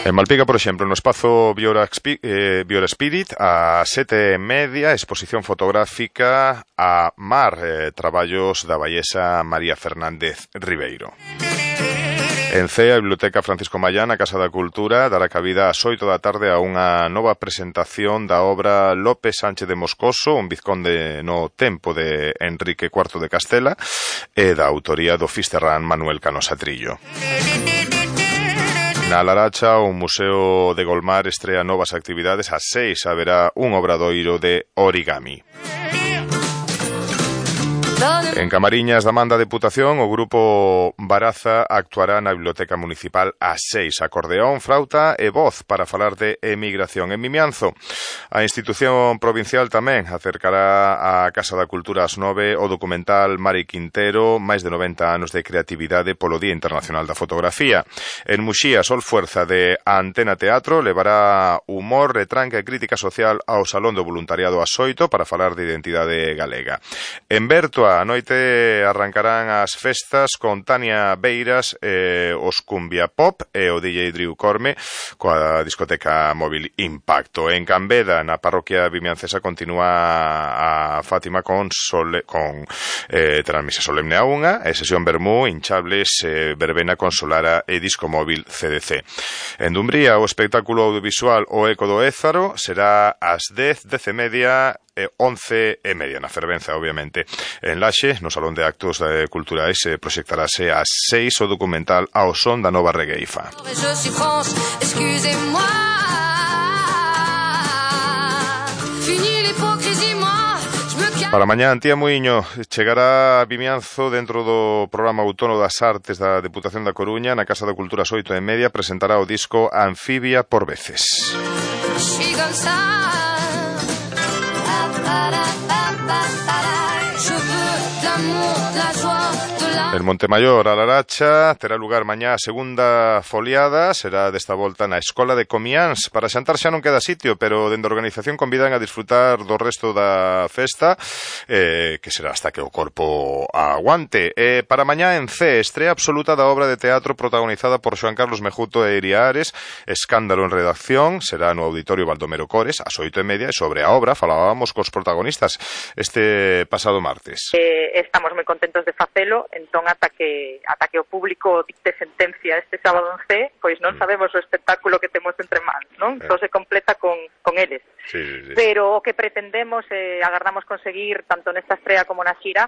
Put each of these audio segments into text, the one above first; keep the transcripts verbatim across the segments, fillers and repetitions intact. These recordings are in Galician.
En Malpica, por exemplo, no espazo Biora, eh, Biora Spirit, a sete e media, exposición fotográfica a Mar, eh, traballos da baiesa María Fernández Ribeiro. En C E A, a Biblioteca Francisco Mallán, a Casa da Cultura, dará cabida ás oito da tarde a unha nova presentación da obra López Sánchez de Moscoso, un vizconde no tempo de Enrique cuarto de Castela, e da autoría do fisterrán Manuel Canosa Trillo. Na Laracha, o Museo de Golmar estrea novas actividades. Ás seis haberá un obradoiro de origami. En Camariñas da Manda Deputación, o grupo Baraza actuará na Biblioteca Municipal ás seis. Acordeón, flauta e voz para falar de emigración. En Mimianzo, a institución provincial tamén acercará á Casa da Cultura ás nove o documental Mari Quintero, máis de noventa anos de creatividade polo Día Internacional da Fotografía. En Muxía, Sol Fuerza de Antena Teatro levará humor, retranca e crítica social ao Salón do Voluntariado ás oito para falar de identidade galega. En Berto, a noite arrancarán as festas con Tania Beiras, eh, os Cumbia Pop e o D J Drew Corme coa discoteca móvil Impacto. En Cambeda, na parroquia vimiancesa, continúa a Fátima con, sole, con eh, transmisa solemne a unha e sesión Bermú, hinchables, eh, verbena con Solara e disco móvil C D C. En Dumbría, o espectáculo audiovisual O Eco do Ézaro será ás dez, dez e media e once e media, na Fervenza, obviamente. En Laxe, no Salón de Actos eh, Culturais, eh, proxectarase ás seis o documental Ao son da nova regueifa. Para mañá, Antía Muiño chegará a Vimianzo dentro do programa Outono das Artes da Deputación da Coruña. Na Casa da Cultura ás oito e media presentará o disco Anfibia por veces. En Montemayor, a Laracha, terá lugar mañá a segunda foliada. Será desta volta na Escola de Comiáns. Para xantar xa non queda sitio, pero dende a organización convidan a disfrutar do resto da festa, eh, que será hasta que o corpo aguante. Eh, para mañá en C, estrea absoluta da obra de teatro protagonizada por Xoan Carlos Mejuto e Iria Ares, Escándalo en redacción. Será no Auditorio Baldomero Cores, ás oito e media, e sobre a obra falábamos cos protagonistas este pasado martes. Eh, estamos moi contentos de facelo, entón ata que ata que o público dicte sentencia este sábado en C, pois non sabemos o espectáculo que temos entre mans, non? Eh. Só se completa con, con eles. Sí, sí, sí. Pero o que pretendemos e eh, agardamos conseguir tanto nesta estrea como na xira,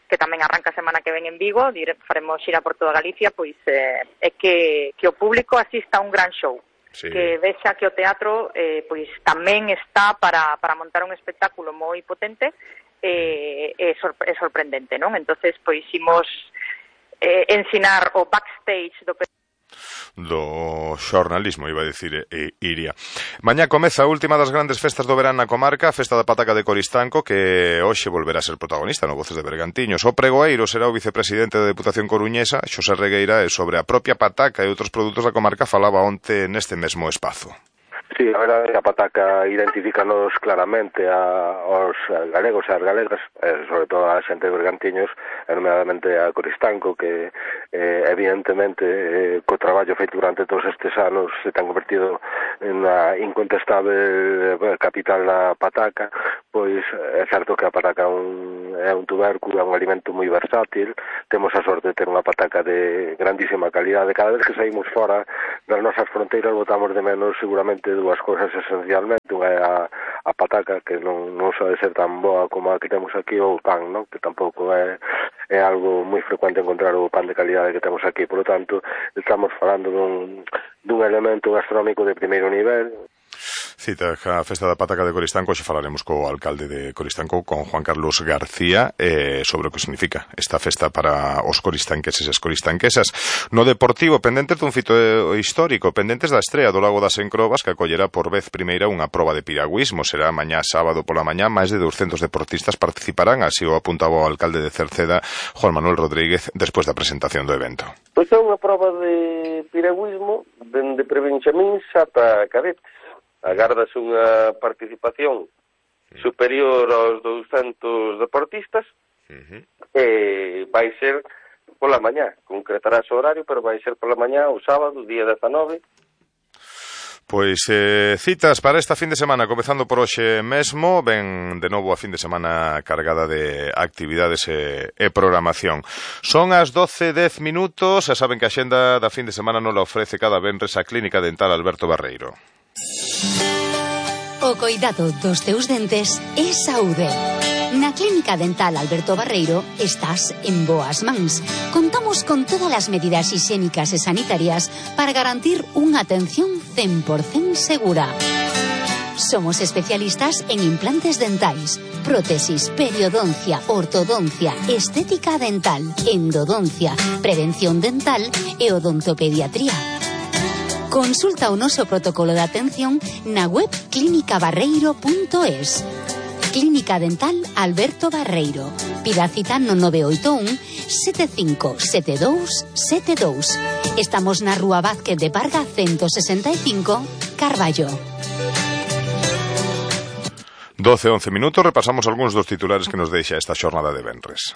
que tamén arranca a semana que ven en Vigo, dire, faremos xira por toda Galicia, pois eh, é que, que o público asista a un gran show. Sí. Que vexa que o teatro eh, pois tamén está para, para montar un espectáculo moi potente e eh, sorpre- sorprendente, non? Entonces, pois imos eh, ensinar o backstage do do xornalismo, iba a dicir eh, Iria. Mañá comeza a última das grandes festas do verán na comarca, a Festa da Pataca de Coristanco, que hoxe volverá a ser protagonista no Voces de Bergantiños. O pregoeiro será o vicepresidente da Deputación Coruñesa, Xosé Regueira, e sobre a propia pataca e outros produtos da comarca falaba onte neste mesmo espazo. Sí, a verdade, a pataca identifícanos claramente a, aos galegos e as galegas, eh, sobre todo a xente de Bergantiños, nomeadamente a Coristanco, que eh, evidentemente eh, co traballo feito durante todos estes anos se ten convertido en a incontestable capital da pataca. Pois é certo que a pataca é un, é un tubérculo, é un alimento moi versátil. Temos a sorte de ter unha pataca de grandísima calidade. Cada vez que saímos fora das nosas fronteiras botamos de menos seguramente dúas cousas esencialmente. Unha é a, a pataca, que non, non sabe ser tan boa como a que temos aquí, ou o pan, non? Que tampouco é, é algo moi frecuente encontrar o pan de calidade que temos aquí. Por lo tanto, estamos falando dun, dun elemento gastronómico de primeiro nivel. Cita a Festa da Pataca de Coristanco. Hoxe falaremos co alcalde de Coristanco, con Juan Carlos García, eh, sobre o que significa esta festa para os coristanqueses e as coristanquesas. No Deportivo, pendentes dun fito histórico, pendentes da estrea do Lago das Encrobas, que acollerá por vez primeira unha proba de piragüismo. Será mañá sábado pola mañá. Máis de douscentos deportistas participarán, así o apuntaba o alcalde de Cerceda, Juan Manuel Rodríguez, despois da presentación do evento. Pois é unha proba de piragüismo dende prebenxamíns ata cadetes. Agardase unha participación superior aos douscentos deportistas. Uh-huh. E vai ser pola mañá. Concretarás o horario, pero vai ser pola mañá o sábado, día dezanove. Pois eh, citas para esta fin de semana, comezando por hoxe mesmo, ven de novo a fin de semana cargada de actividades e, e programación. Son as doce e dez minutos, e saben que a xenda da fin de semana non la ofrece cada venres a Clínica Dental Alberto Barreiro. O coidado dos teus dentes é saúde. Na Clínica Dental Alberto Barreiro estás en boas mans. Contamos con todas as medidas higiénicas e sanitarias para garantir unha atención cen por cento segura. Somos especialistas en implantes dentais, prótesis, periodoncia, ortodoncia, estética dental, endodoncia, prevención dental e odontopediatría. Consulta o noso protocolo de atención na web clínica barreiro punto es. Clínica Dental Alberto Barreiro. Pida cita no nove oito un, sete cinco sete dous sete dous. Estamos na Rúa Vázquez de Parga ciento sesenta e cinco, Carballo. doce e once minutos, repasamos algúns dos titulares que nos deixa esta xornada de venres.